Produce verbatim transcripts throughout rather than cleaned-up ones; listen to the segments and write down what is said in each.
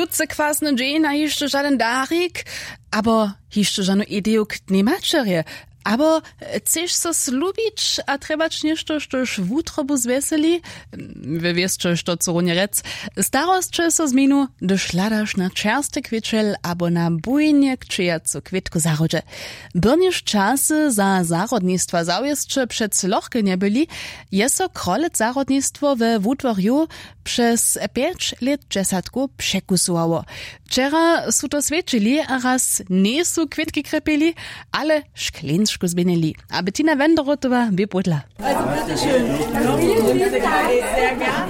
Wótře kwasny dźeń a hišće žadyn darik, abo hišće žanu ideju k dnjej maćerje, abo chceš so slubić a trjebać něšto, štož wutrobu zwjeseli? We wěsće što chcu runje rjec. Starosće so změnu, hdyž hladaš na čerstwy kwěćel abo na bujnje kćějacu kwětku w zahrodźe. Byrnjež časy za zahrodnistwa zawěsće přec lochke njebyli, je so krolec zahrodnistwo we wudworju přez pjeć lětdźesatkow překusowało. Wčera su to swjećili a raz njejsu kwětki krjepili, ale škleńsku změnili. A bettina wenderotowa bě pódla.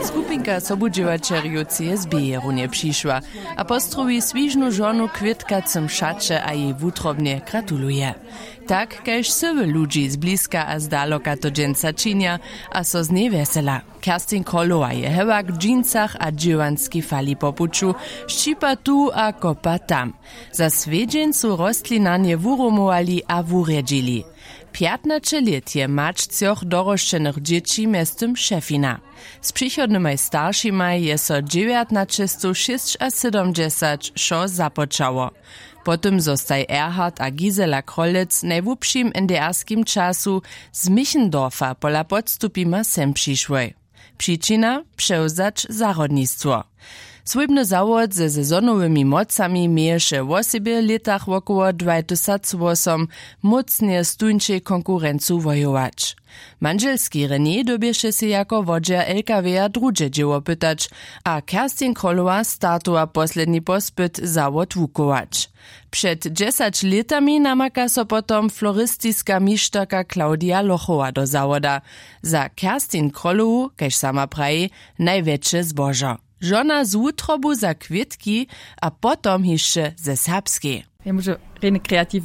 Skupinka sobudźěłaćerjow csb je runje přišła a postrowi swižnu žonu kwětkacym šaće a jej wutrobnje gratuluje. Tak kaž syły ludźi zbliska a zdaloka to dźensa činja a so z njej wjesela. Kerstin krolowa je hewak w džinčach a dźěłanskej fali po puću, šćipa tu a kopa tam. Za swjedźeń su rostlinarnje wurumowali a wurjedźili. Pjatnaće lět je mać třoch dorosćenych dźěći mjeztym šefina. Z přichodnymaj staršimaj je so dźewjatnaćestowšěsćasydomdźesat wšo započało. Po tym zo staj erhard a gisela krolec w najłubšim nderskim času z michendorfa pola podstupima sem přišłoj. Přičina: přewzać zahrodnistwo. Swójbny zawod ze sezonowymi mocami měješe wosebje w lětach wokoło dwatysacwosom mócnje z tuńčej konkurencu wojować. Mandźelski rené dyrbješe sej jako wodźer lkw-ja druhdźe dźěło pytać a kerstin krolowa startowa posledni pospyt zawod wukować. Před dźesać lětami namaka so potom floristiska mišterka claudia lochowa do zawoda. Za kerstin krolowu, kaž sama praji, najwjetše zbožo. Žona z wutrobu za kwětki a potom hišće ze serbskej. Ja móžu rjeny kreativny.